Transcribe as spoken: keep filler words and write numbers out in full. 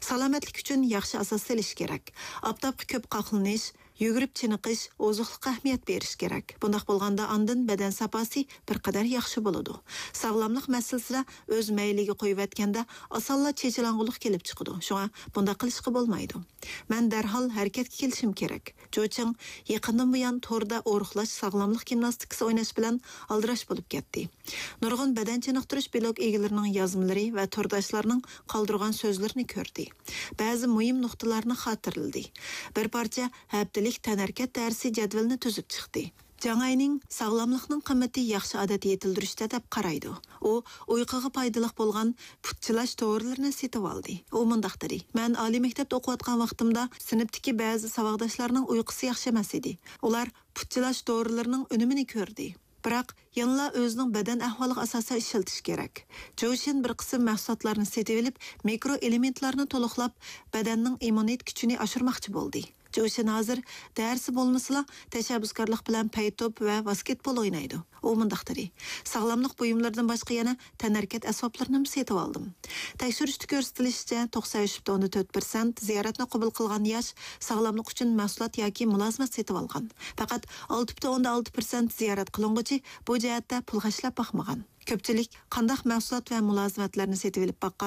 سالامەتلىك ئۈچۈن ياخشى ئاساس سېلىش كېرەك. ئاپتاپقا كۆپ قاقلىنىش، يۈگۈرۈپ چېنىقىش، ئوزۇقلۇققا ئەھمىيەت بېرىش كېرەك. بۇنداق بولغاندا ئاندىن بەدەن ساپاسى بىر قەدەر ياخشى بولىدۇ. ساغلاملىق مەسىلىسىدە ئۆز مەيلىگە قويۇۋەتكەندە ئاسانلا چېچىلاڭغۇلۇق كېلىپ چىقىدۇ. شۇڭا بۇنداق قىلىشقا بولمايدۇ. مەن دەرھال ھەرىكەتكە كېلىشىم كېرەك. جوچىڭ يېقىندىن بۇيان توردا ئورۇقلاش ساغلاملىق گىمناستىكىسى ئويناش بىلەن ئالدىراش بولۇپ كەتتى. نۇرغۇن بەدەن چېنىقتۇرۇش بىلوگ ئىگىلىرىنىڭ يازمىلىرى ۋە تورداشلارنىڭ قالدۇرغان سۆزلىرىنى كۆردى. بەزى مۇھىم نۇقتىلارنى خاتىرىلىدى. بىر پارچە ھەپتىلىك تەنھەرىكەت دەرسى جەدۋىلىنى تۈزۈپ چىقتى. جاڭ ئاينىڭ ساغلاملىقنىڭ قىممىتى ياخشى ئادەت يېتىلدۈرۈشتە دەپ قارايدۇ. ئۇ ئۇيقۇغا پايدىلىق بولغان پۇت چىلاش دورىلىرىنى سېتىۋالدى. ئۇ مۇنداق دېدى، مەن ئالىي مەكتەپتە ئوقۇۋاتقان ۋاقتىمدا سىنىپتىكى بەزى ساۋاقداشلارنىڭ ئۇيقۇسى ياخشى ئەمەس ئىدى. ئۇلار پۇت چىلاش دورىلىرىنىڭ ئۈنۈمىنى كۆردى. بىراق، يەنىلا ئۆزىنىڭ بەدەن ئەھۋالىغا ئاساسەن ئىشلىتىش كېرەك. جوشىن بىر قىسىم مەھسۇلاتلارنى سېتىۋېلىپ، مىكرو ئېلېمېنتلارنى تولۇقلاپ، بەدەننىڭ ئىممۇنىتېت كۈچىنى ئاشۇرماقچى بولدى. جوشىن ھازىر دەرسى بولمىسىلا، تەشەببۇسكارلىق بىلەن پەيتوپ ۋە ۋاسكېتبول ئوينايدۇ. ئۇ مۇنداق دېدى، ساغلاملىق بۇيۇملىرىدىن باشقا يەنە تەنھەرىكەت ئەسۋابلىرىنىمۇ سېتىۋالدىم. تەكشۈرۈشتە كۆرسىتىلىشىچە، توقسەن ئۈچ پۈتۈن ئوندىن تۆت پىرسەنت زىيارەتنى قوبۇل قىلغان ياش ساغلاملىق ئۈچۈن مەھسۇلات ياكى مۇلازىمەت سېتىۋالغان. پەقەت ئالتە پۈتۈن ئوندىن ئالتە پىرسەنت زىيارەت قىلىنغۇچى بۇ جەھەتتە پۇل خەجلەپ باقمىغان. كۆپچىلىك قانداق مەھسۇلات ۋە مۇلازىمەتلەرنى سېتىۋېلىپ باققان؟